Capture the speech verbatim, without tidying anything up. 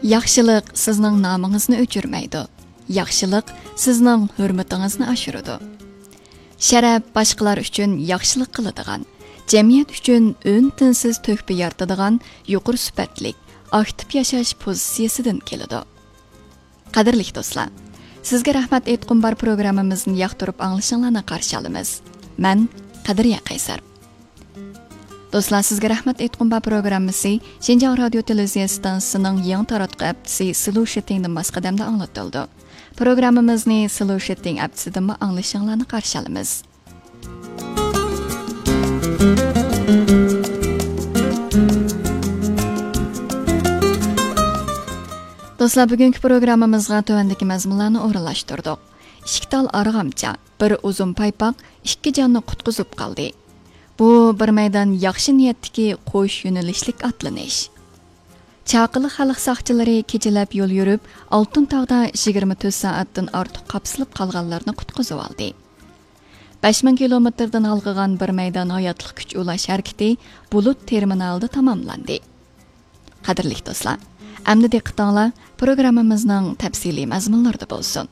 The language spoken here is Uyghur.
ياخشىلىق سىزنىڭ نامىڭىزنى ئۆچۈرمەيدۇ. ياخشىلىق سىزنىڭ ھۆرمىتىڭىزنى ئاشۇرىدۇ. شەرەپ باشقىلار ئۈچۈن ياخشىلىق قىلىدىغان، جەمئىيەت ئۈچۈن ئۈن-تىنسىز تۆھپە يارىتىدىغان يۇقىرى سۈپەتلىك، ئاكتىپ ياشاش پوزىتسىيىسىدىن كېلىدۇ. قەدىرلىك دوستلار، سىزگە رەھمەت ئېيتقۇم بار پروگراممىمىزنى ياقتۇرۇپ ئاڭلىشىڭلارنى قارشى ئالىمىز. مەن قەدرىيە قەيسەر. دوستلار، سىزگە رەھمەت ئېيتقۇم بار پروگراممىسى شىنجاڭ رادىيو تېلېۋىزىيە ئىستانسىسىنىڭ يېڭى تاراتقۇ ھەپتىسى سلوشىتىڭدىن ماس قەدەمدە ئاڭلىتىلىدۇ. پروگراممىمىزنى سلوشىتىڭ ھەپتىسىدىنمۇ ئاڭلىشىڭلارنى قارشى ئالىمىز. دوستلار، بۈگۈنكى پروگراممىمىزغا تۆۋەندىكى مەزمۇنلارنى ئورۇنلاشتۇردۇق. ئىككى تال ئارغامچا، بىر ئۇزۇن پايپاق ئىككى جاننى قۇتقۇزۇپ قالدى. بۇ بىر مەيدان ياخشى نىيەتتىكى قوش يۆنىلىشلىك ئاتلىنىش. چاقىلىق خەلق ساقچىلىرى كېچىلەپ يول يۈرۈپ، ئالتۇن تاغدا يىگىرمە تۆت سائەتتىن ئارتۇق قاپسىلىپ قالغانلارنى قۇتقۇزۇۋالدى. بەش مىڭ كىلومېتىردىن ھالقىغان بىر مەيدان ھاياتلىق كۈچ ئۇلاش ھەرىكىتى بۇلۇت تېرمىنالىدا تاماملاندى. قەدىرلىك دوستلار، ئەمدى دىققىتىڭلار پروگراممىمىزنىڭ تەپسىلىي مەزمۇنلىرىدا بولسۇن.